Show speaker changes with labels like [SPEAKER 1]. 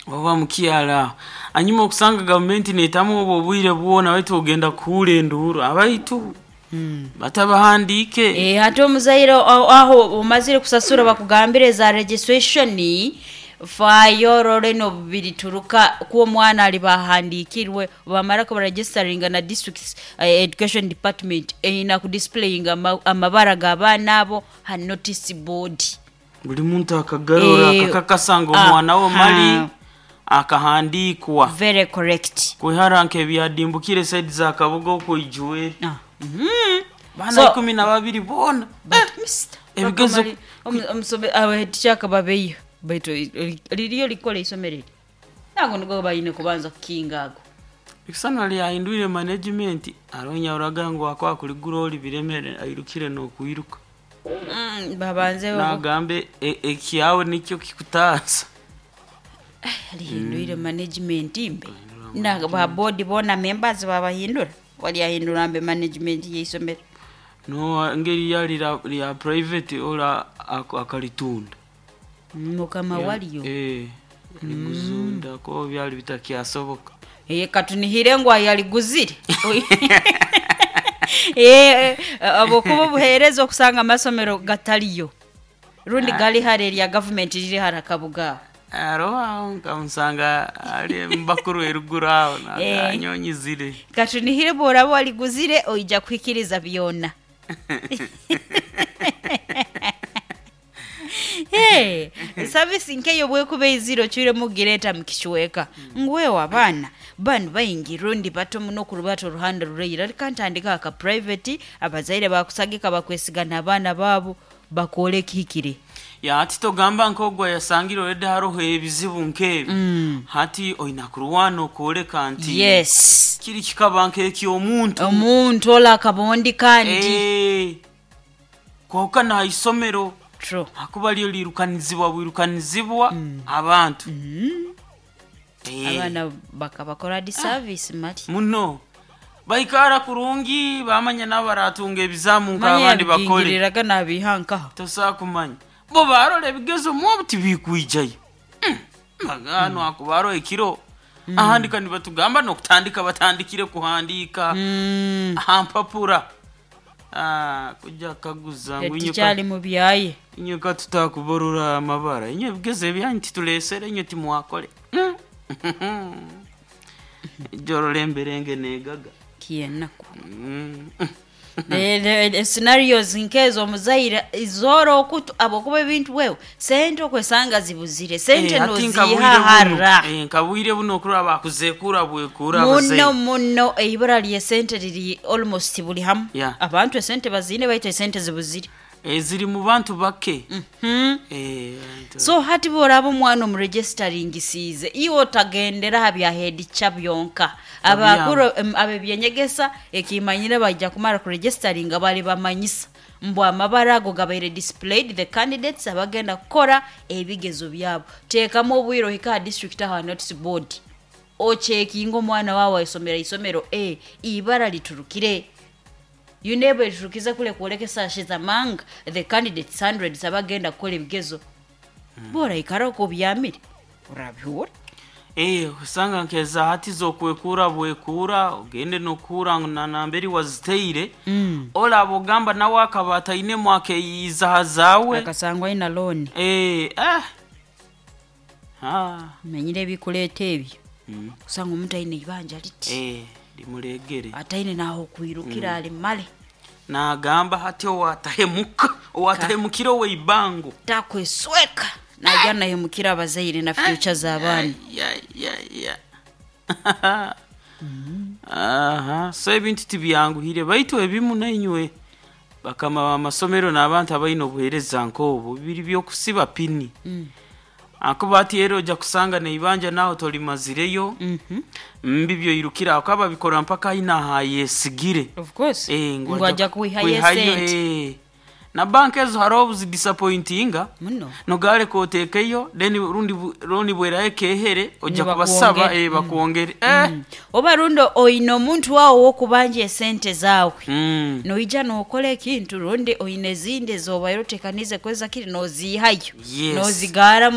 [SPEAKER 1] Oba mukyara aho. Hanyuma okusanga gavumenti neetamu obwo obwire bwona baitu ogenda kuhuura enduuru abaitu batabahandiike.
[SPEAKER 2] Eeh hati omuzaire aho omazire kusasura bakugambire eza registration faayo orore nobu birituruka ku omwana ariba ahandikirwe bamara kubaregisteringa na district education department eine kudisplayinga amabara g'abaana abo ha notice board.
[SPEAKER 1] Buri muntu akagarora akakakasa ngu omwana we mali akahandiikwa.
[SPEAKER 2] Very correct.
[SPEAKER 1] Kwihara nk'ebyadimbukire side za Kabuga okwo Ijweri. Baana 12 boona. Ebigezo.
[SPEAKER 2] Headteacher akababeiha baitu ririyo rikora eisomero eri? Ago nigo baine kubanza kukinga ago.
[SPEAKER 1] Ekisana lyahindwire management hariho onyauraga ngu wakuba kurigura ori biremere airukire n'okwiruka.
[SPEAKER 2] Babanze.
[SPEAKER 1] Nagamba ekyawe nikyo kikutaasa.
[SPEAKER 2] Rihindwire management mbe na ba board boona members babahindura? Waryahindura mbe management y'eisomero?
[SPEAKER 1] No engeri ryari rya private ori akaritunda.
[SPEAKER 2] Mukama waryo.
[SPEAKER 1] Eh, yariguzunda ko byari bitakyasoboka.
[SPEAKER 2] Eh, katunihire ngu ayariguzire. Eh, ahabw'okuba obuheereza okusanga amasomero gatariyo rundi gari hare erya gavumenti riri hare akabuga aho.
[SPEAKER 1] Hariho aho nkamusanga ari mubakuru eruguru aho nanyonyizire.
[SPEAKER 2] Katunihire obu oraba wariguzire oija kuhikiriza byona. Hey, service nk'eyo obu ekuba eizire ocwiremu kugireeta mu kicweka ngu wewe abaana banu baingi rundi bato muno okurubata oruhanda ruraire reka ntandike aka private abazaire bakusagika bakwesiga n'abaana baabo bakoore ekihikire.
[SPEAKER 1] Ya hati togamba nk'ogu ayasangire already haroho ebizibu nk'ebi, hati oina kurwana okwoleka nti
[SPEAKER 2] Yes.
[SPEAKER 1] kiri kikaba nk'eky'omuntu.
[SPEAKER 2] Omuntu ole akaba ondi kandi.
[SPEAKER 1] Eh, kwonka n'aha isomero
[SPEAKER 2] True.
[SPEAKER 1] ahakuba ryo riirukanizibwa bwirukanizibwa abantu. Eh.
[SPEAKER 2] Abaana bakabakora disservice mali.
[SPEAKER 1] Muno. Baikara kurungi bamanya nabo baratunga ebizaamu
[SPEAKER 2] Manya
[SPEAKER 1] nk'abandi bakore.
[SPEAKER 2] yabigingiriraga nabiiha nkaha.
[SPEAKER 1] Tosobola kumanya. Bo barora ebigezo mwobu tibikwijayo. Hanu hakuba haroho ekiro. Ahandika nibatugamba n'okutandika batandikire kuhandiika aha mpapura. Ah, kuja kukaguza ngu inywe ka-
[SPEAKER 2] Tikyali mu byaye.
[SPEAKER 1] inywe ka tutakubarura amabara. Inywe ebigezo ebyanyu tituleesere inywe timwakore. Ijoro emberenge negaga.
[SPEAKER 2] Kyenaku. Scenarios nk'ezo omuzaire zoora okutu ahabw'okuba ebintu wewe sente okwesanga zibuzire sente
[SPEAKER 1] Eh, hati
[SPEAKER 2] noziiha
[SPEAKER 1] nkabwire buno
[SPEAKER 2] hara.
[SPEAKER 1] eh, nkabwire buno okuraba bakuzekura bwekura
[SPEAKER 2] Muno
[SPEAKER 1] abazaire.
[SPEAKER 2] muno eibura ry'esente riri almost buri hamwe.
[SPEAKER 1] Yeah.
[SPEAKER 2] Abantu esente baziine baitu esente zibuzire.
[SPEAKER 1] Eh, ziri mu bantu bake. Eh, abantu-
[SPEAKER 2] So hati bworaba omwana omuregestaringisiize iwe otagendera aha bya headteacher byonka. Abakuru ab'ebyenyegesa ekimanyire baija kumara kuregestaringa baribamanyisa mbu amabara ago gabaire displayed the candidates abagenda kukora ebigezo byabo. Teekamu obwire ohike aha district aha notice board ocekinge omwana waawe aisomera isomero A ibara liturukire. UNEB eriturukize kule kwoleka she's among the candidates hundreds abagenda kukora ebigezo. Bworaikara okwo obyamire orabihura.
[SPEAKER 1] Eh, osanga nkeza hati zokwekura bwekura ogende nokuhura ngu na namberi waziteire olaba ogamba nawe akaba atainemu akeyiiza ha zaawe
[SPEAKER 2] Akasangwa aine loan.
[SPEAKER 1] Eh, ah. Ah.
[SPEAKER 2] Manyire ebikuleeta ebyo. Kusanga omuntu aine eibanja riti.
[SPEAKER 1] Eh, rimuregere.
[SPEAKER 2] Ataine n'ahokwirukira arimare.
[SPEAKER 1] Nagamba hati owatahemuka owatahemukire oweibango
[SPEAKER 2] Takwesweka naija nahemukira abazaire na future z'abaana.
[SPEAKER 1] Ya, ya, ya. Aha, so ebintu tibyanguhire baitu ebimu nainywe bakama b'amasomero n'abantu abaine obuheereza nk'obu biri by'okusiba pini. Ahakuba hati era oja kusanga n'eibanja nawe torimazireyo mbi byoirukire aho babikora mpaka aine ahayesigire.
[SPEAKER 2] Of course.
[SPEAKER 1] Eh, ngu
[SPEAKER 2] Ngu
[SPEAKER 1] aja
[SPEAKER 2] aja kwihayo
[SPEAKER 1] kwihayo,
[SPEAKER 2] esente.
[SPEAKER 1] eh. Na banka ezo hariho obu zidisappointinga
[SPEAKER 2] Muno.
[SPEAKER 1] nogareka oteekeyo then rundi looni bweraho ekehere oja kubasaba
[SPEAKER 2] Nibakwongere.
[SPEAKER 1] eh, bakwongere eh.
[SPEAKER 2] Oba rundi oine omuntu waawe ow'okubanja esente zaawe. Noija nookora ekintu rundi oine ezindi ez'obaire oteekaniize kweza kiri nooziihayo.
[SPEAKER 1] Yes.
[SPEAKER 2] Noozigaara.